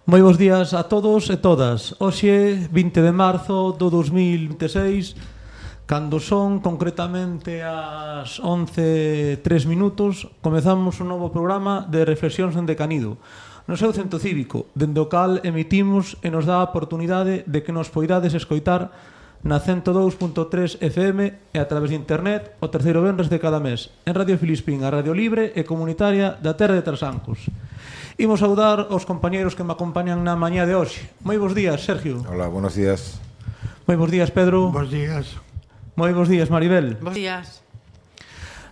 Moi bons días a todos e todas. Hoxe, 20 de marzo do 2026, cando son concretamente as 11:03, comezamos un novo programa de reflexións en Decanido, no seu centro cívico, dende o cal emitimos e nos dá a oportunidade de que nos poidades escoitar na 102.3 FM e a través de internet o terceiro venres de cada mes en Radio Filispín, a radio libre e comunitaria da terra de Trasancos. Imos saudar os compañeiros que me acompañan na mañá de hoxe. Moi bons días, Sergio. Hola, buenos días. Moi bons días, Pedro. Bos días. Moi bons días, Maribel. Bos días.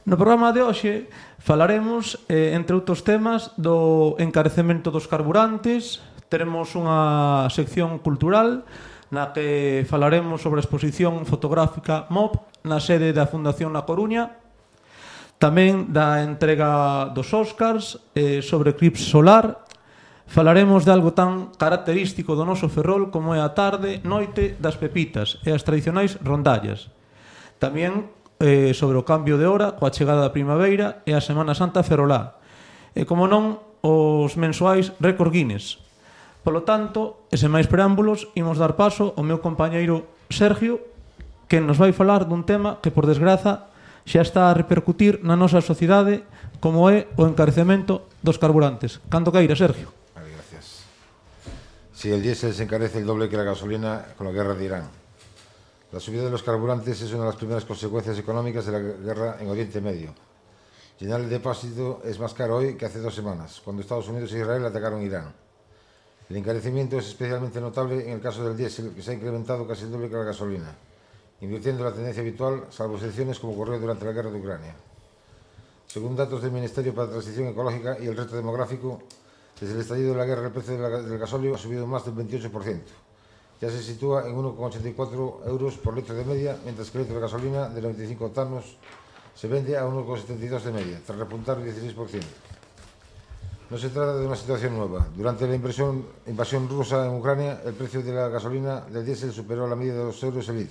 No programa de hoxe falaremos, entre outros temas, do encarecemento dos carburantes. Teremos unha sección cultural na que falaremos sobre a exposición fotográfica MOP na sede da Fundación Na Coruña. Tamén da entrega dos Óscars, sobre eclipse solar. Falaremos de algo tan característico do noso Ferrol como é a tarde, noite das pepitas e as tradicionais rondallas. Tamén sobre o cambio de hora coa chegada da primavera e a Semana Santa ferrolá. E, como non, os mensuais récord Guinness. Polo tanto, e sen máis preámbulos, imos dar paso ao meu compañeiro Sergio, que nos vai falar dun tema que, por desgraza, xa está a repercutir na nosa sociedade, como é o encarecemento dos carburantes. Cando caíra, Sergio. Vale, gracias. Si el diésel se encarece el doble que la gasolina con la guerra de Irán. La subida de los carburantes es una de las primeras consecuencias económicas de la guerra en Oriente Medio. Llenar el depósito es más caro hoy que hace 2 semanas, cuando Estados Unidos e Israel atacaron Irán. El encarecimiento es especialmente notable en el caso del diésel, que se ha incrementado casi el doble que la gasolina, invirtiendo la tendencia habitual, salvo excepciones como ocurrió durante la guerra de Ucrania. Según datos del Ministerio para la Transición Ecológica y el Reto Demográfico, desde el estallido de la guerra el precio del gasóleo ha subido más del 28%. Ya se sitúa en 1,84 euros por litro de media, mientras que el litro de gasolina de 95 octanos se vende a 1,72 de media, tras repuntar un 16%. No se trata de una situación nueva. Durante la invasión rusa en Ucrania, el precio de la gasolina del diésel superó la media de 2 euros el litro.